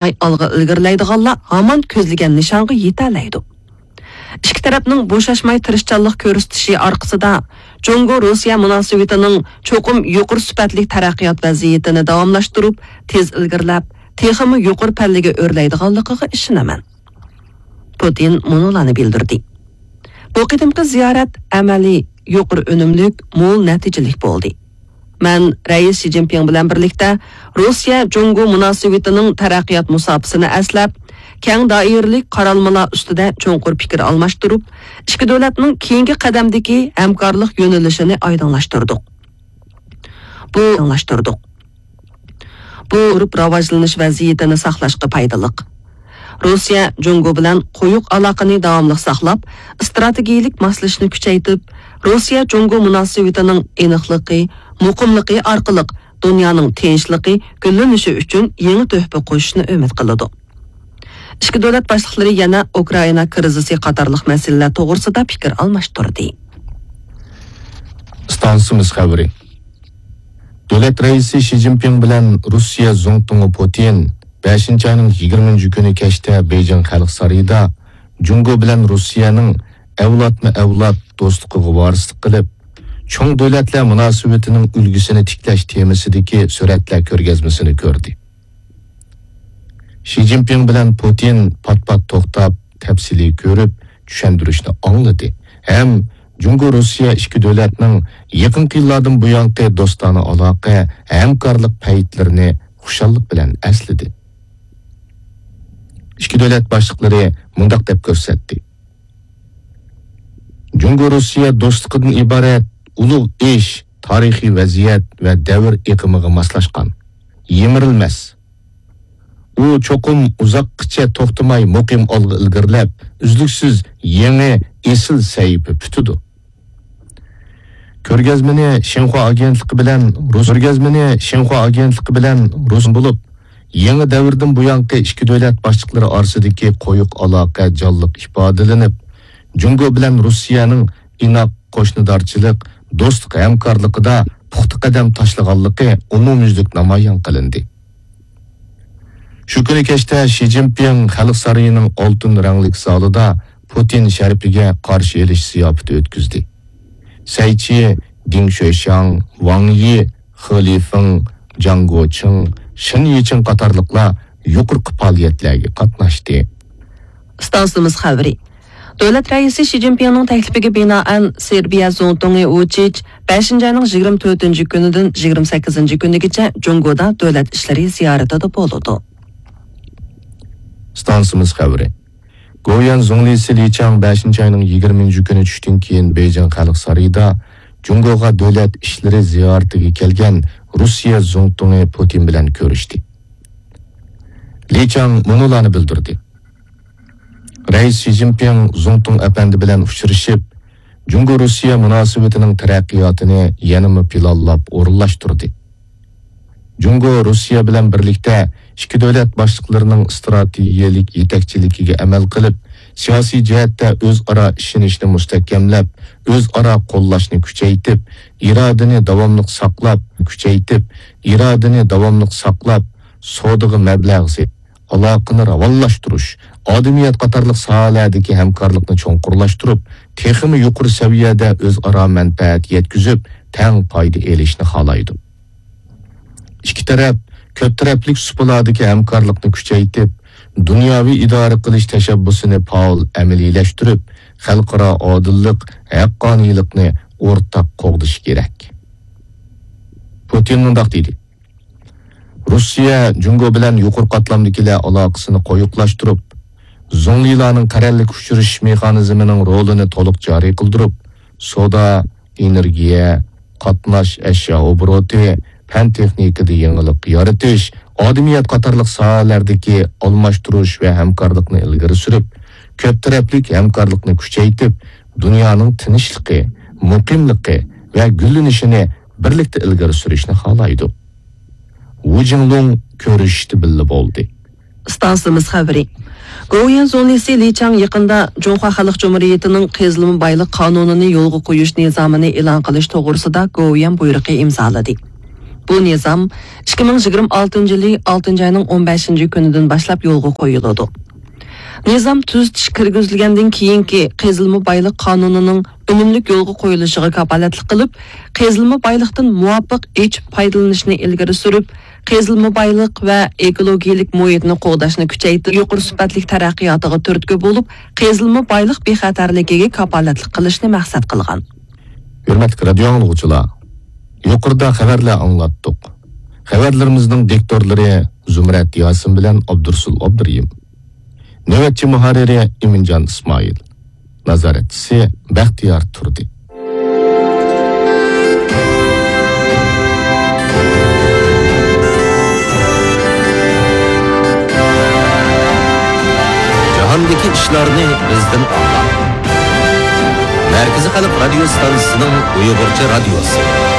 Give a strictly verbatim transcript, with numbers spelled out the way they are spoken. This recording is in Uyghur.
ئالغا ئىلگىرىلەيدىغانلار ھامان كۆزلىگەن نىشانغا يېتەلەيدۇ. ئىككى تەرەپنىڭ بوشاشماي تىرىشچانلىق كۆرسىتىشى ئارقىسىدا، جۇڭگو-روسىيە مۇناسىۋىتىنىڭ چوقۇم يۇقىرى سۈپەتلىك تەرەققىيات ۋەزىيىتىنى داۋاملاشتۇرۇپ، تېز ئىلگىرىلەپ، تېخىمۇ يۇقىرى پەللىگە ئۆرلەيدىغانلىقىغا ئىشىنىمەن. پۇتىن مۇنۇلارنى بىلدۈردى. بۇ قېتىمقى زىيارەت ئەمەلىي، يۇقىرى ئۈنۈملۈك، مول نەتىجىلىك بولدى. مەن رەئىس شى جىنپىڭ بىلەن بىرلىكتە روسىيە جۇڭگو مۇناسىۋىتىنىڭ تەرەققىيات مۇساپىسىنى ئەسلەپ، كەڭ دائىرىلىك قارالمىلار ئۈستىدە چوڭقۇر پىكىر ئالماشتۇرۇپ، ئىككى دۆلەتنىڭ كېيىنكى قەدەمدىكى ھەمكارلىق يۆنىلىشىنى ئايدىڭلاشتۇردۇق. بۇ ئايدىڭلاشتۇردۇق. بۇ ئۇرۇپ راۋاجلىنىش ۋەزىيىتىنى ساقلاشقا پايدىلىق. روسىيە جۇڭگو بىلەن قويۇق ئالاقىنى داۋاملىق ساقلاپ، ئىستراتېگىيىلىك ماسلىشىشنى كۈچەيتىپ، روسىيە جۇڭگو مۇناسىۋىتىنىڭ ئېنىقلىقى، مۇقىملىقى ئارقىلىق دۇنيانىڭ تىنچلىقى، گۈللىنىشى ئۈچۈن يېڭى تۆھپە قوشۇشنى ئۈمىد قىلىدۇ. ئىككى دۆلەت باشلىقلىرى يەنە ئۇكرائىنا كىرىزىسى قاتارلىق مەسىلىلەر توغرىسىدا پىكىر ئالماشتۇردى. ئىستانسىمىز خەۋىرى. دۆلەت رەئىسى شى جىنپىڭ بىلەن روسىيە زۇڭتۇڭى پۇتىن بەشىنچى ئاينىڭ يىگىرمىنچى كۈنى كەچتە بېيجىڭ خەلق سارىيىدا جۇڭگو بىلەن روسىيەنىڭ ئەۋلادمۇ ئەۋلاد دوستلۇقىغا ۋارىسلىق قىلىپ، چوڭ دۆلەتلەر مۇناسىۋىتىنىڭ ئۈلگىسىنى تىكلەش تېمىسىدىكى سۈرەتلەر كۆرگەزمىسىنى كۆردى. شى جىنپىڭ بىلەن پۇتىن پات-پات توختاپ، تەپسىلىي كۆرۈپ، چۈشەندۈرۈشنى ئاڭلىدى ھەم جۇڭگو-روسىيە ئىككى دۆلەتنىڭ يېقىنقى يىللاردىن بۇيانقى دوستانە ئالاقە، ھەمكارلىق پەيتلىرىنى خۇشاللىق بىلەن ئەسلىدى. ئىككى دۆلەت باشلىقلىرى مۇنداق دەپ كۆرسەتتى: جۇڭگو-روسىيە دوستلۇقىدىن ئىبارەت ئۇلۇغ ئىش، تارىخىي ۋەزىيەت ۋە دەۋر ئېقىمىغا ماسلاشقان، يىمىرىلمەس. ئۇ چوقۇم ئۇزاققىچە توختىماي مۇقىم ئالغا ئىلگىرىلەپ، ئۈزلۈكسىز يېڭى ئېسىل سەھىپە پۈتىدۇ. كۆرگەزمىنى شىنخۇا ئاگېنتلىقى بىلەن رۇس، كۆرگەزمىنى شىنخۇا ئاگېنتلىقى بىلەن رۇس بولۇپ، يېڭى دەۋردىن بۇيانقى ئىككى دۆلەت باشلىقلىرى ئارىسىدىكى قويۇق ئالاقە جانلىق ئىپادىلىنىپ، جۇڭگو بىلەن رۇسىيەنىڭ ئىناق قوشنىدارچىلىق، دوستلۇق ھەمكارلىقىدا پۇختا قەدەم تاشلىغانلىقى ئومۇميۈزلۈك نامايان قىلىندى. شۇ كۈنى كەچتە شى جىنپىڭ خەلق سارىيىنىڭ ئالتۇن رەڭلىك زالىدا پۇتىن شەرىپىگە قارشى ئېلىش زىياپىتى ئۆتكۈزدى. سەي چى، دېڭ شۆشياڭ، ۋاڭ يى، خې لىفېڭ، جاڭ گوچىڭ، شېن يىچىڭ قاتارلىقلار يۇقىرىقى پائالىيەتلەرگە قاتناشتى. ئىستانسىمىز خەۋىرى. دۆلەت رەئىسى شى جىنپىڭنىڭ تەكلىپىگە بىنائەن، سېربىيە زۇڭتۇڭى ۋۇچىچ بەشىنچى ئاينىڭ يىگىرمە تۆتىنچى كۈنىدىن يىگىرمە سەككىزىنچى كۈنىگىچە جۇڭگودا دۆلەت ئىشلىرى زىيارىتىدە بولىدۇ. ئىستانسىمىز خەۋىرى. گوۋۇيۈەن زۇڭلىسى لى چاڭ بەشىنچى ئاينىڭ يىگىرمىنچى كۈنى چۈشتىن كېيىن بېيجىڭ خەلق سارىيىدا جۇڭگوغا دۆلەت ئىشلىرى زىيارىتىگە كەلگەن رۇسىيە زۇڭتۇڭى پۇتىن بىلەن كۆرۈشتى. لى چاڭ مۇنۇلارنى بىلدۈردى: رەئىس شى جىنپىڭ زۇڭتۇڭ ئەپەندى بىلەن ئۇچرىشىپ، جۇڭگو-رۇسىيە مۇناسىۋىتىنىڭ تەرەققىياتىنى يەنىمۇ پىلانلاپ ئورۇنلاشتۇردى. جۇڭگو رۇسىيە بىلەن بىرلىكتە ئىككى دۆلەت باشلىقلىرىنىڭ ئىستراتېگىيەلىك يېتەكچىلىكىگە ئەمەل قىلىپ، سىياسىي جەھەتتە ئۆزئارا ئىشىنىشنى مۇستەھكەملەپ، ئۆزئارا قوللاشنى كۈچەيتىپ، ئىرادىنى داۋاملىق ساقلاپ، كۈچەيتىپ، ئىرادىنى داۋاملىق ساقلاپ، سودىغا مەبلەغ سېلىپ، ئالاقىنى راۋانلاشتۇرۇش، ئادىمىيەت قاتارلىق ساھەلەردىكى ھەمكارلىقنى چوڭقۇرلاشتۇرۇپ، تېخىمۇ يۇقىرى سەۋىيەدە ئۆزئارا مەنپەئەت يەتكۈزۈپ، تەڭ پايدا ئېلىشنى خالايدۇ. ئىككى تەرەپ كۆپ تەرەپلىك سۇپىلاردىكى ھەمكارلىقنى كۈچەيتىپ، دۇنياۋى ئىدارە قىلىش تەشەببۇسىنى پائال ئەمەلىيلەشتۈرۈپ، خەلقئارا ئادىللىق، ھەققانىيلىقنى ئورتاق قوغدىشى كېرەك. پۇتىن مۇنداق دېدى: رۇسىيە جۇڭگو بىلەن يۇقىرى قاتلامدىكىلەر ئالاقىسىنى قويۇقلاشتۇرۇپ، زۇڭلىلارنىڭ قەرەللىك ئۇچرىشىش مېخانىزمىنىڭ رولىنى تولۇق جارى قىلدۇرۇپ، سودا، ئېنېرگىيە، قاتناش ئەشيا ئوبوروتى، پەن تېخنىكىدا يېڭىلىق يارىتىش، ئادىمىيەت قاتارلىق ساھەلەردىكى ئالماشتۇرۇش ۋە ھەمكارلىقنى ئىلگىرى سۈرۈپ، كۆپ تەرەپلىك ھەمكارلىقنى كۈچەيتىپ، دۇنيانىڭ تىنچلىقى، مۇقىملىقى ۋە گۈللىنىشىنى بىرلىكتە ئىلگىرى سۈرۈشنى خالايدۇ. ۋۇ جىڭلۇڭ كۆرۈشۈشتە بىللە بولدى. ئىستانسىمىز خەۋىرى. گوۋۇيۈەن زۇڭلىسى لى چاڭ يېقىندا جۇڭخۇا خەلق جۇمھۇرىيىتىنىڭ قېزىلما بايلىق قانۇنىنى يولغا قويۇش نىزامىنى ئېلان قىلىش توغرىسىدا گوۋۇيۈەن بۇيرۇقى ئىمزالىدى. بۇ نىزام ئىككى مىڭ يىگىرمە ئالتىنچى يىلى ئالتىنچى ئاينىڭ ئون بەشىنچى كۈنىدىن باشلاپ يولغا قويۇلىدۇ. نىزام تۈزىتىش كىرگۈزۈلگەندىن كېيىنكى قېزىلما بايلىق قانۇنىنىڭ ئۈنۈملۈك يولغا قويۇلۇشىغا كاپالەتلىك قىلىپ، قېزىلما بايلىقتىن مۇۋاپىق ئېچىپ پايدىلىنىشنى ئىلگىرى سۈرۈپ، قېزىلما بايلىق ۋە ئېكولوگىيەلىك مۇھىتنى قوغداشنى كۈچەيتىپ، يۇقىرى سۈپەتلىك تەرەققىياتىغا تۈرتكە بولۇپ، قېزىلما بايلىق بىخەتەرلىكىگە كاپالەتلىك قىلىشنى مەقسەت قىلغان. ھۆرمەتلىك رادىيو ئاڭلىغۇچىلار، يۇقىرىدا خەۋەرلەر ئاڭلاتتۇق. خەۋەرلىرىمىزنىڭ دىكتورلىرى زۇمرەت ياسىن بىلەن ئابدۇرسۇل ئابدۇرېھىم. نۆۋەتچى مۇھەررىرى ئىمىنجان ئىسمائىل. نازارەتچىسى بەختىيار تۇردى. جاھاندىكى ئىشلارنى بىزدىن ئاڭلاڭ. مەركىزىي خەلق رادىيو ستانسىسىنىڭ ئۇيغۇرچە رادىيوسى.